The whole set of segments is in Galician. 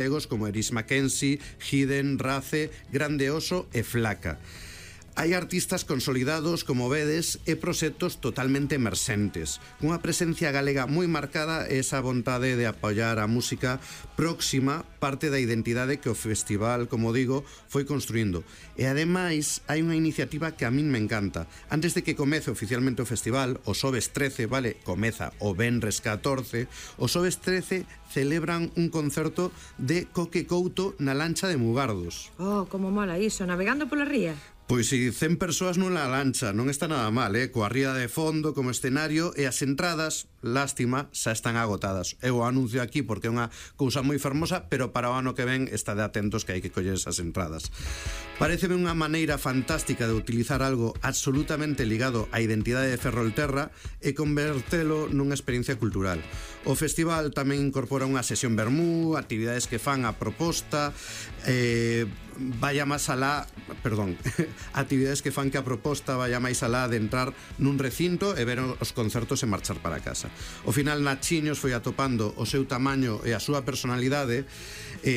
como Eris Mackenzie, Hidden, Race, Grande Oso e Flaca. Hai artistas consolidados, como vedes, e proxectos totalmente emerxentes, cunha presencia galega moi marcada e esa vontade de apoiar a música próxima, parte da identidade que o festival, como digo, foi construindo. E ademais, hai unha iniciativa que a min me encanta. Antes de que comece oficialmente o festival, o xoves 13, vale, comeza o venres 14, o xoves 13 celebran un concerto de Coque Couto na lancha de Mugardos. Oh, como mola iso, navegando pola ría. Pois si 100 persoas nunha lancha, non está nada mal, coa ría de fondo como escenario, e as entradas, lástima, xa están agotadas. Eu o anuncio aquí porque é unha cousa moi fermosa, pero para o ano que ven estade atentos que hai que coller esas entradas. Pareceme unha maneira fantástica de utilizar algo absolutamente ligado á identidade de Ferrolterra e convertelo nunha experiencia cultural. O festival tamén incorpora unha sesión vermú, actividades que fan a proposta, vaya máis alá, perdón, actividades que fan que a proposta vaya máis alá de entrar nun recinto e ver os concertos e marchar para casa. Ao final, Nachiños foi atopando o seu tamaño e a súa personalidade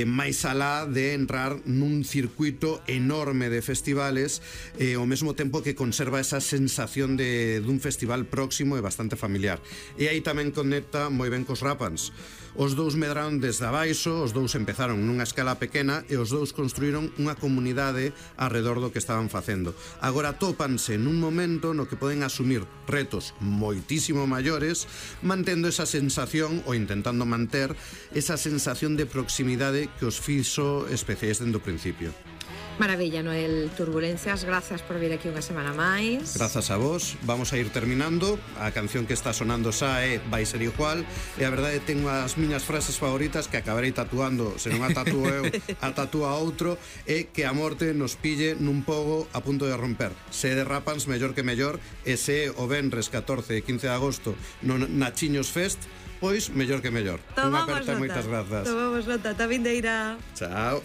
máis alá de entrar nun circuito enorme de festivales, ao mesmo tempo que conserva esa sensación dun festival próximo e bastante familiar. E aí tamén conecta moi ben cos Rapans. Os dous medraron desde abaixo, os dous empezaron nunha escala pequena e os dous construíron unha comunidade arredor do que estaban facendo. Agora tópanse nun momento no que poden asumir retos moitísimo maiores, mantendo esa sensación ou intentando manter esa sensación de proximidade que os fixo especiais dende o principio. Maravilla, Noel Turbulencias, grazas por vir aquí unha semana máis. Grazas a vos, vamos a ir terminando. A canción que está sonando xa é Vai ser igual, e a verdade tengo as miñas frases favoritas que acabarei tatuando, se non a tatúo eu, a tatúa outro, é que a morte nos pille nun pogo a punto de romper. Se de Rapans, mellor que mellor, e se o venres 14 e 15 de agosto no Nachiños Fest, pois mellor que mellor. Unha aperta, moitas grazas. Tomamos nota, ta vindeira. Chao.